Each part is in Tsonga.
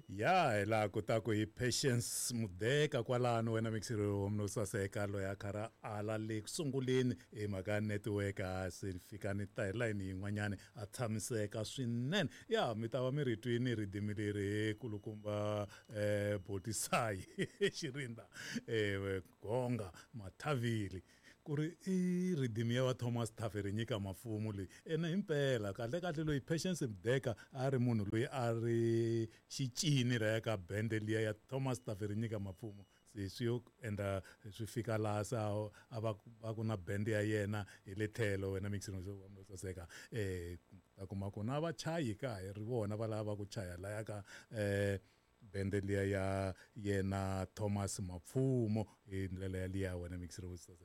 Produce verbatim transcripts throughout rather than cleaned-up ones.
Ya hi laha kotaku hi Patience Mudeka kwalano wena mixiro no saseka loyi a karhi ala le ku sunguleni hi mhaka ya network a se fika ni ta hi layini yin'wanyani a tshamiseka swinene. Ya mi ta va mi ri twini ridimi leri kulukumba um Botisayi Xirinda um Gonga Mathavili ku ri i ridimi ya wa Thomas Tafirenyika Mafumo leyi ene himpela kahle kahle loyi Patience Mudeka a ri munhu loyi a ri xicini ra ya ka bende liya ya Thomas Tafirenyika Mafumo se swi yo endla swi fika laha se a va va ku na bende ya yena hi le tlhelo wena mixing saseka eh ta kuma ku na vachayi ka hi ri vona va lava ku chaya laya ka eh bende liya ya yena Thomas Mapfumo hi ndlela ya liya wena mixing saseka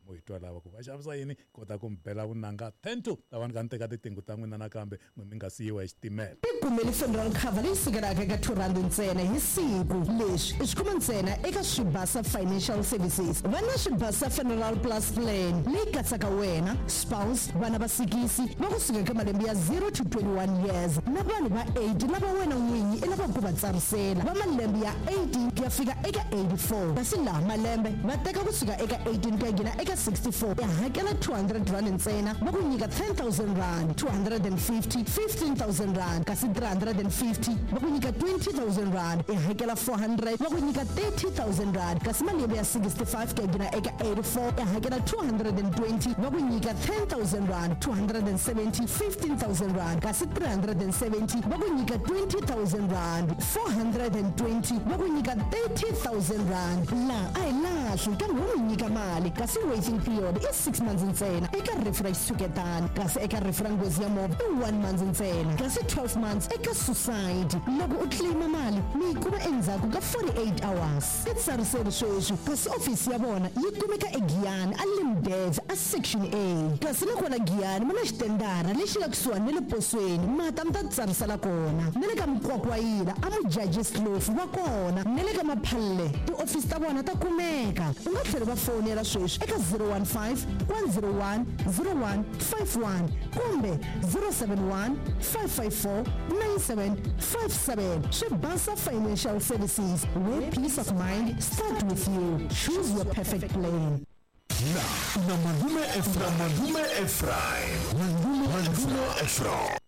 mo hi twa lava ku va xavisa yini kota ku mi bela vunanga ten to ta vanhu ka ni teka titingu ta n'wina nakambe n'we mi nga siyiwa hi xitimela. Tikumeli funeral cover leyi sukelaka eka two rand ntsena hi siku. Leswi i swi kuma ntsena eka Swibasa Financial Services. Va na Swibasa Funeral Plus Plan leyi katsaka wena, spouse, vana va sikisi va kusuka eka malembe ya zero to twenty-one years na vanhu va eight lava wena n'winyi i lavaka ku va tsarisela va malembe ya eighteen ku ya fika eka eighty-four. Kasi laha malembe va teka kusuka eka eighteen ku ya nghena eka sixty-four ya hakela two hundred rand ntsena va ku nyika ten thousand rand, two hundred and fifty, fifteen thousand rand, kasi three hundred and fifty va ku nyika twenty thousand rand, ya hakela four hundred va ku nyika thirty thousand rand, kasi malembe ya sixty-five ku ya nghena eka eighty-four ya hakela two hundred and twenty va ku nyika ten thousand rand, two hundred and seventy, fifteen thousand rand, kasi three hundred and seventy va ku nyika twenty thousand rand, four hundred and twenty va ku nyika thirty thousand rand. Laha a hi lahli kambe wo mi nyika mali, kasi waiting period i six months ntsena eka rifu ra xitshuketano, kasi eka rifu ra nghozi ya movha i one month ntsena, kasi twelve months eka suicide. Loko u claima mali mi yi kuma endzhaku ka forty-eight hours. I tsariseri sweswi, kasi ofisi ya vona yi kumeka eGiyani a Limdev a section A, kasi na kona Giyani mi na xitendara lexi nga kusuhani na le posweni, mata mi ta tsarisela kona, na le ka Mkwakwayila a Mujajis Kloof va kona, na le ka Maphalle tiofisi ta vona ta kumeka. U nga tlhela va fonela sweswi eka zero one five, one zero one, zero one five one kumbe zero seven one, five five four, nine seven five seven. Swibasa Financial Services, where peace of mind start with you. Choose your perfect plan. Na, na Malume Ephraim, Malume Ephraim, Malume Ephraim.